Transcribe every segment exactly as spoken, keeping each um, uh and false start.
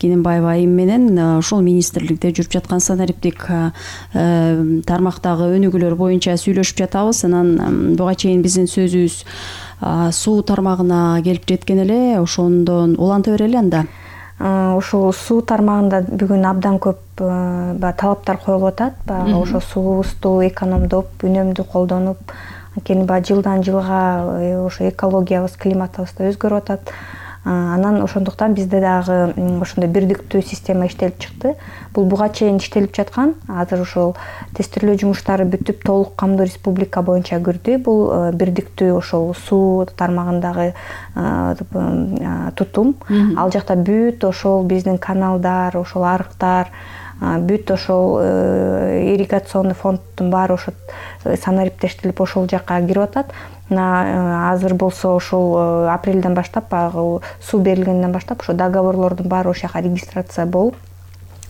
Кененбаева айым менен ушул министрликте жүрүп жаткан санариптик тармактагы өнүгүүлөр боюнча сүйлөшүп жатабыз. Анан буга чейин биздин сөзүбүз суу тармагына келип жеткен эле, ошондон уланта берели анда. Ушул суу тармагында бүгүн абдан көп талаптар коюлуп атат. Баягы ошо суубузду экономдоп, үнөмдүү колдонуп, анткени баягы жылдан жылга ошо экологиябыз, климатыбыз да өзгөрүп атат. Анан ошондуктан бизде дагы ошондой бирдиктүү система иштелип чыкты. Бул буга чейин иштелип жаткан. Азыр ошол тестирлөө жумуштары бүтүп, толук камдуу республика боюнча кирди. Бул бирдиктүү ошол суу тармагындагы тутум. Ал жакта бүт ошол биздин каналдар, ошол арыктар, бүт ошол ирригационный фонддун баары ошо санариптештелип ошол жакка кирип атат. Азыр болсо ошол апрелден баштап, баягы суу берилгенден баштап ошо договорлордун баары ошол жака регистрация болуп,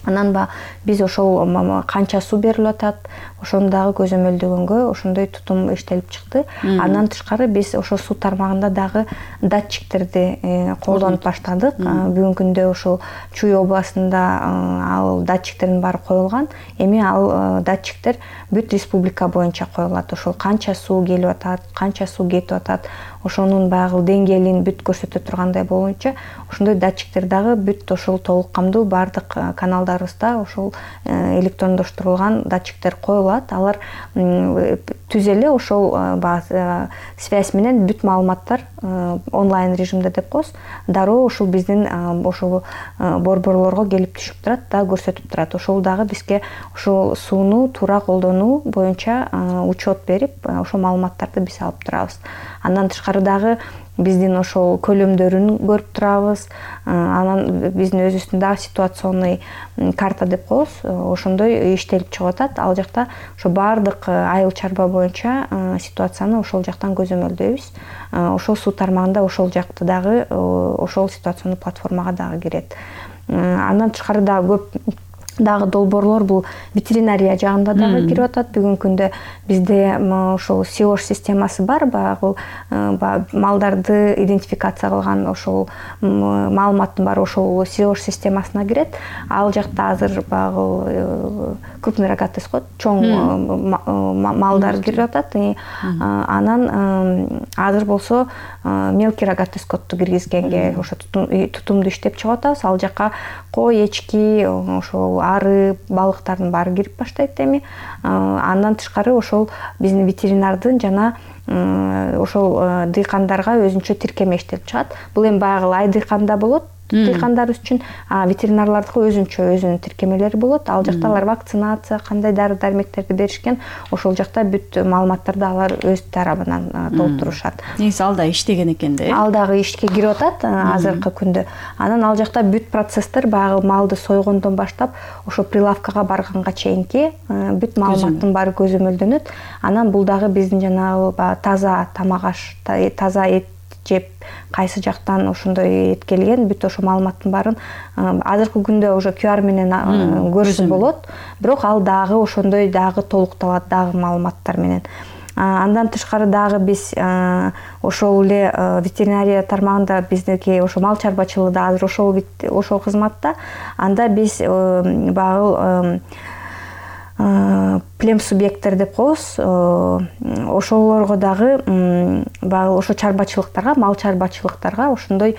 анан ба биз ошол канча суу берилип атат, ошону дагы көзөмөлдөгөнгө ошондой тутум иштелип чыкты. Андан тышкары биз ошол суу тармагында дагы датчиктерди колдонуп баштадык. Бүгүнкү күндө ошол Чүй областында ал датчиктердин баары коюлган. Эми ал датчиктер бүт республика боюнча коюлат. Ошол канча суу келип атат, канча суу кетип атат, ошонун баягы деңгээлин бүт көрсөтө тургандай боюнча ошондой датчиктер дагы бүт ошол толук камдуу баардык каналдарыбызда ошол электрондоштурулган датчиктер коюлат. Алар түз эле ошол связь менен бүт маалыматтар онлайн режимде деп коебуз, дароо ошол биздин ошол борборлорго келип түшүп турат да, көрсөтүп турат. Ошол дагы бизге ошол сууну туура колдонуу боюнча учет берип, ошол маалыматтарды биз алып турабыз. Андан тышкары дагы биздин ошол көлөмдөрүн көрүп турабыз. Анан биздин өзүбүздүн дагы ситуационный карта деп коебуз, ошондой иштелип чыгып атат. Ал жакта ошо баардык айыл чарба боюнча ситуацияны ошол жактан көзөмөлдөйбүз. Ошол суу тармагында ошол жакты дагы ошол ситуационный платформага дагы кирет. Андан тышкары дагы көп дагы долбоорлор бул ветеринария жагында дагы кирип атат. Бүгүнкү күндө бизде ошол сиош системасы бар, баягы малдарды идентификация кылган ошол маалыматтын баары ошол сиош системасына кирет. Ал жакта азыр баягы крупный рогатый скот, чоң малдар кирип атат. Анан азыр болсо мелкий рогатый скотту киргизгенге ошо тутумду иштеп чыгып атабыз. Ал жакка кой, эчки, ошол ары, балыктардын баары кирип баштайт эми. Андан тышкары ошол биздин ветеринардын жана ошол дыйкандарга өзүнчө тиркеме иштелип чыгат. Бул эми баягы ай дыйканда болот, дыйкандарыбыз үчүн, а ветеринарлардыкы өзүнчө өзүнүн тиркемелери болот. Ал жакта алар вакцинация, кандай дары-дармектерди беришкен, ошол жакта бүт маалыматтарды алар өз тарабынан толтурушат. Негизи ал да иштеген экен да. Ал дагы ишке кирип атат азыркы күндө. Анан ал жакта бүт процесстер баягы малды сойгондон баштап ошо прилавкага барганга чейинки бүт маалыматтын баары көзөмөлдөнөт. Анан бул дагы биздин жанагы таза тамак аш, таза эт жеп, кайсы жактан ошондой эт келген, бүт ошо маалыматтын баарын азыркы күндө уже ку ар менен көрүшү болот. Бирок ал дагы ошондой дагы толукталат дагы маалыматтар менен. Андан тышкары дагы биз ошол эле ветеринария тармагында биздики ошо мал чарбачылыгында азыр ошол ошол кызматта. Анда биз баягы плем субъекттер деп коебуз. Ошолорго дагы баягы ошо чарбачылыктарга, мал чарбачылыктарга, ошондой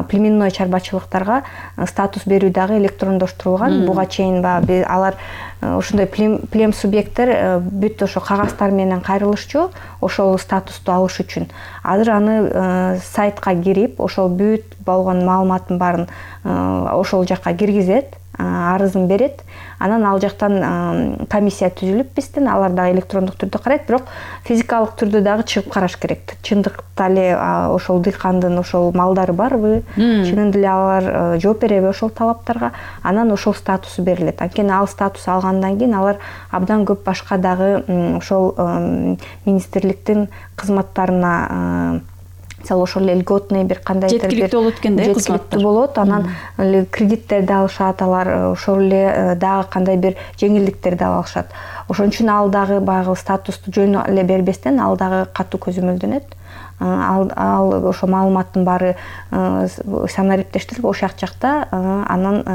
племенной чарбачылыктарга статус берүү дагы электрондоштурулган. Буга чейин баягы алар ошондой плем субъекттер бүт ошо кагазддар менен кайрылышчу ошол статусту алыш үчүн. Азыр аны сайтка кирип, ошол бүт болгон маалыматтын баарын ошол жакка киргизет, арызын берет. Анан ал жактан комиссия түзүлүп биздин, алар дагы электрондук түрдө карайт, бирок физикалык түрдө дагы чыгып караш керек. Чындыкта эле ошол дыйкандын ошол малдары барбы, чынында эле алар жооп береби ошол талаптарга, анан ошол статусу берилет. Анткени ал статус алгандан кийин алар абдан көп башка дагы ошол министрликтин кызматтарына, мисалы ошол эле льготный бир кандайдыр жеткиликтүү болот экен да, жеткиликтүү болот. Анан кредиттерди алышат, алар ошол эле дагы кандай бир жеңилдиктерди алышат. Ошон үчүн ал дагы баягы статусту жөн эле бербестен ал дагы катуу көзөмөлдөнөт. Ал ал ошо маалыматтын баары санариптештирип ошол жакта анан